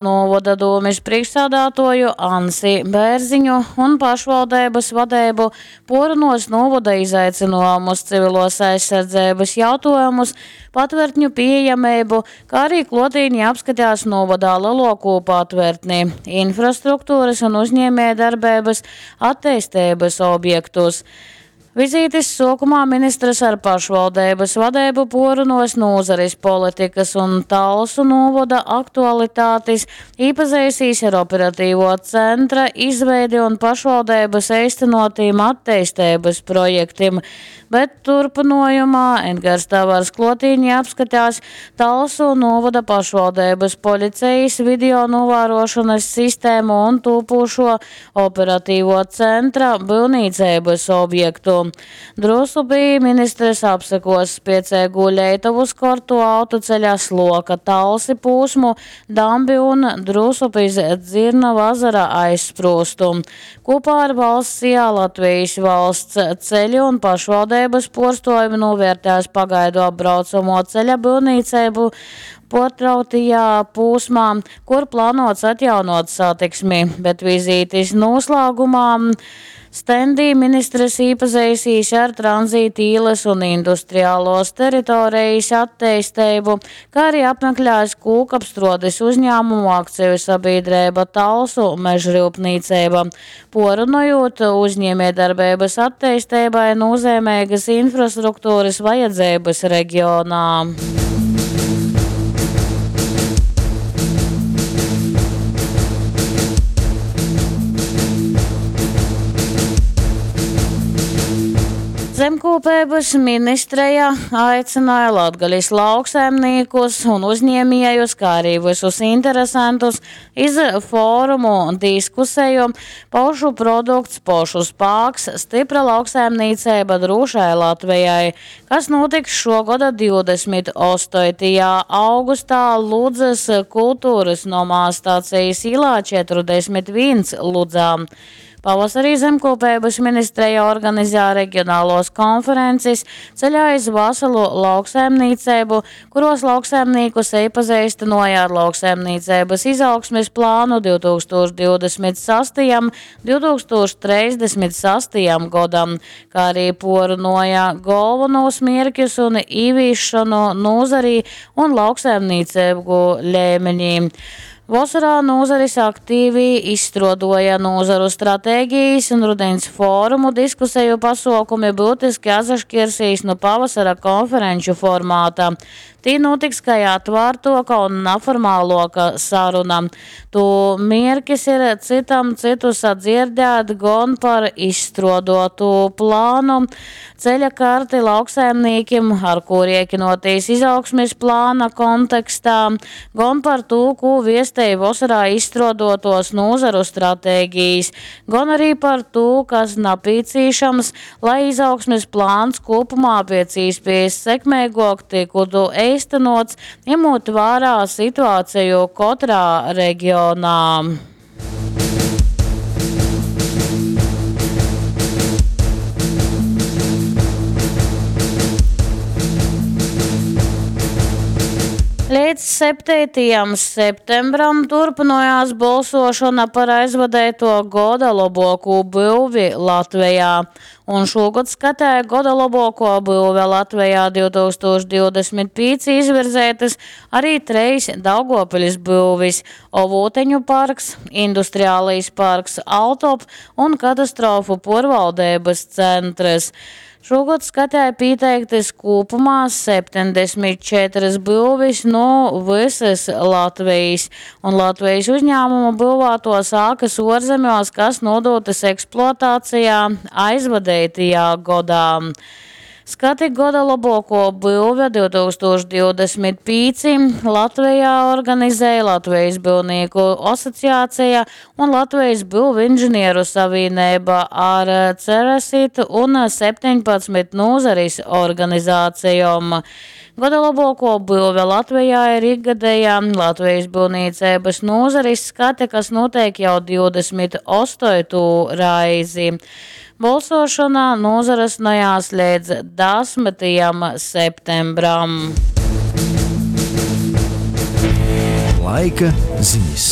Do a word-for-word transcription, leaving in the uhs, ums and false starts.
Nūvoda dūmis prīšksādātuoju Ansi Bērziņu un pašvaldeibys vadeibu puorrunuos nūvoda izaicynuojumus, civiluos aizsardzeibys jautuojumus, patvertņu pīejameibu, kā arī kluotīnī apskatēs nūvodā leluokū patvertni, infrastrukturys un uzņiemiejdarbeibys atteisteibys objektus. Vizītis suokumā ministrs ar pašvaldeibys vadeibu puorrunuos nūzaris politikys un Talsu nūvoda aktualitatis, īpazeisīs ar operatīvuo centra izveidi un pašvaldeibys eistynuotīm atteisteibys projektim, bet turpynuojumā Edgars Tavars kluotīnī apskatēs Talsu nūvoda pašvaldeibys policejis video nūvāruošonys sistēmu un tūpūšo operatīvuo centra byuvnīceibys objektu. Drusupī ministrs apsekuos spieceigū Leitovu skortuo autoceļa Sloka – Talsi pūsmu, dambi un Drusupis Dzirnavu azara aizsprūstu. Kūpā ar valsts I A Latvijas valsts ceļi un pašvaldeibys puorstuovim nūvērtēs pagaidu apbraucamuo ceļa byuvnīceibu puortrauktajā pūsmā, kur plānots atjaunot satiksmi, bet vizītis noslēgumā stendī ministrs īpazeisīs ar tranzīta īlas un industriālos teritorijas atteisteibu, kā arī apmeklēs kūkapstruodes uzņēmumu akciju sabiedrība Talsu mežrūpnīcība, porunojot uzņēmējdarbeibas atteistībai nozīmīgas infrastruktūras vajadzības reģionā. Zemkūpeibys ministreja aicināja Latgalis lauksaimniekus un uzņēmējus, kā arī visus interesantus iz forumu diskuseju Pošu produkts, pošu spāks, stipra lauksaimniecība drūšai Latvijai, kas notiks šogoda divdesmit astotajā augustā Ludzas kultūras nomā Stacijas ielā četrdesmit viens Ludzā. Pavasarī Zemkopības ministrija organizē reģionālos konferences ceļā iz veselu lauksaimniecību, kuros lauksaimniekus iepazīstināja ar lauksaimniecības izaugsmes plānu divtūkstoš divdesmit sastajam, divtūkstoš trīsdesmit sastajam godam, kā arī porunoja galvenos mierķus un īvīšanu nozarī un lauksaimniecību līmenī. Vasarā nozaris aktīvi izstrādoja nozaru stratēģijas un rudens fórumu diskusiju pasaukumi būtiski atsašķirsīs no pavasara konferenču formāta. Tī notiks kā atvērtoka un neformāloka saruna. Tu mierkis ir citam citu sadzirdēt gon par izstrādotu plānu, ceļa karti lauksaimniekiem, ar ko rēķinoties izaugsmes plāna kontekstā, gon par to, ko viestēja vasarā izstrādotos nozaru stratēģijas, gan arī par to, kas napīcīšams, lai izaugsmes plāns kopumā pēc iespējas sekmīgāk tiktu eistenots, ņemot vērā situāciju katrā reģionā. Līdz septītajam septembram turpinājās balsošana par aizvadēto goda labāko būvi Latvijā. Un šogad skatēja goda labāko būve Latvijā divtūkstoš divdesmit pieci izvirzētas arī treis Daugavpils būvis – Ovūteņu parks, Industriālais parks Altop un katastrofu porvaldības centrs. Šogad skatēja pieteiktas kopumā septiņdesmit četras būvis no visas Latvijas, un Latvijas uzņēmumu būvētos ēkas ārzemēs, kas nodotas eksploatācijā aizvadītajā gadā. Skati goda labāko būve divtūkstoš divdesmit pieci Latvijā organizēja Latvijas būvnieku asociācija un Latvijas būvinženieru savienība ar Ceresit un septiņpadsmit nozaris organizācijām. Goda labāko būve Latvijā ir ikgadējā Latvijas būvniecības nozaris skate, kas notiek jau divdesmit astoto reizi. Balsošana nozarasnojās līdz desmitajam septembram. Laika zinis.